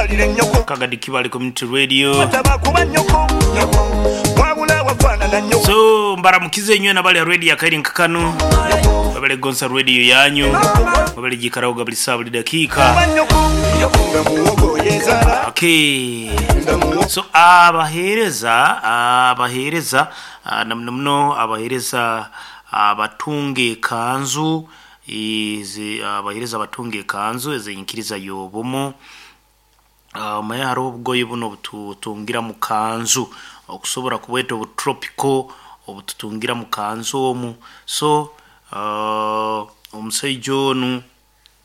Kitwalire nnyoko. Kagadi Kibale Community Radio. Tabakuba nnyoko wabula wafaanana nnyoko. So mbaramukize inywe nabali ha radio akairi nkakano babale gonsa radio yanyu babale jikaraho buli saa buli dakiika. Kuba nnyoko nga muwogo yezaala. Okay. Nga muwogo. So abaheereza na muno muno abaheereza abatunga ekanzu abaheereza abatunga ekanzu ezenkiriza y'obumu. Omaye hariho obugoye buno obututungira mu kanzu okusobora kubweta obutropical obututungira mu kanzu omu. So omusaija onu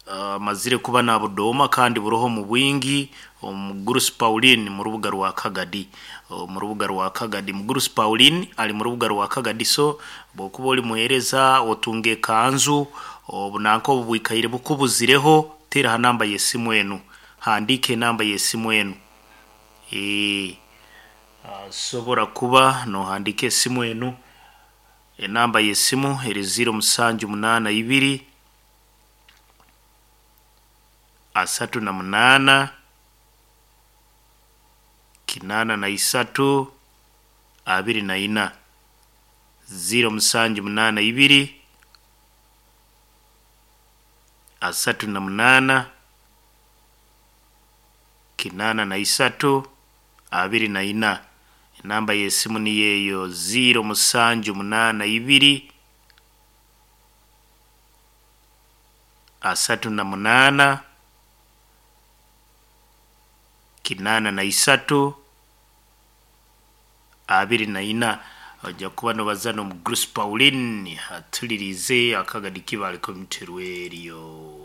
amazire kuba nabudooma kandi buroho mu bwingi omugurusi Pauline mu rubuga rwa Kagadi, mu rubuga rwa Kagadi. Mugurusi Pauline ali mu rubuga rwa Kagadi. So bwokuba oli muheereza otunga ekanzu obu nanka obu bwikaire bukubuzireho, teera ha namba y'esimu enu, handiika enamba y'esimu enu. Asobora kuba nohandiika esimu enu, enamba y'esimu eri 0782 38 83 24, 0782 38 83 24. Enamba y'esimu niyo eyo, 0782 38 83 24. Ojja kuba nobaza n'omugurusi Pauline atulirize Akagadi Kibale Community Radio.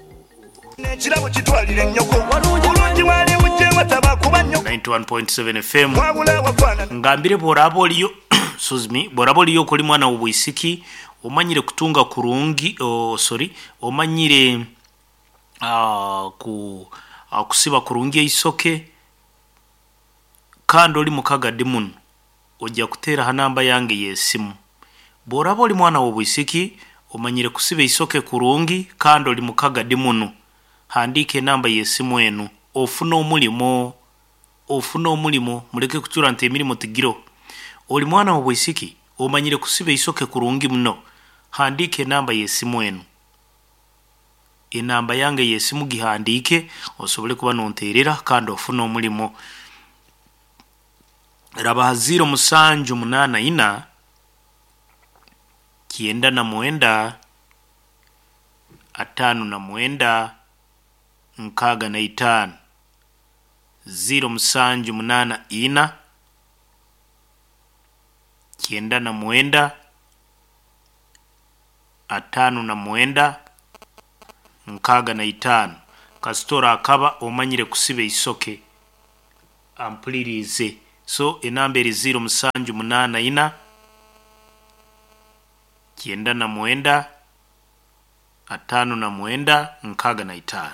Ekirabo kitwalire nnyoko bulungi wali bujjewa tabakuba nnyoko. 91.7 FM. Wabula wafaanana. Ngambire bworaba oliyo, excuse me, bworaba oliyo okoli mwana w'obwisiki omanyire kutunga kurungi, oh, sorry, omanyire kusiba kurungi eisoke kandi oli mukagadi muno, ojja kuteera ha namba yange y'esimu. Bworaba oli mwana w'obwisiki omanyire kusiba eisoke kurungi kandi oli mukagadi muno, handiika enamba y'esimu enu ofune omulimo, ofune omulimo. Muleke kucura nti emirimo tigiroho. Oli mwana w'obwisiki omanyire kusiba eisoke kurungi muno, handiika enamba y'esimu enu, enamba yange y'esimu gihandiike osobole kuba nonteerera kandi ofune omulimo. Raba ha 0784 99 59 65, 0784 99 59 65. Kasita akaba omanyire kusiba eisoke ampulirize. So enamba eri 0784 99 59 65.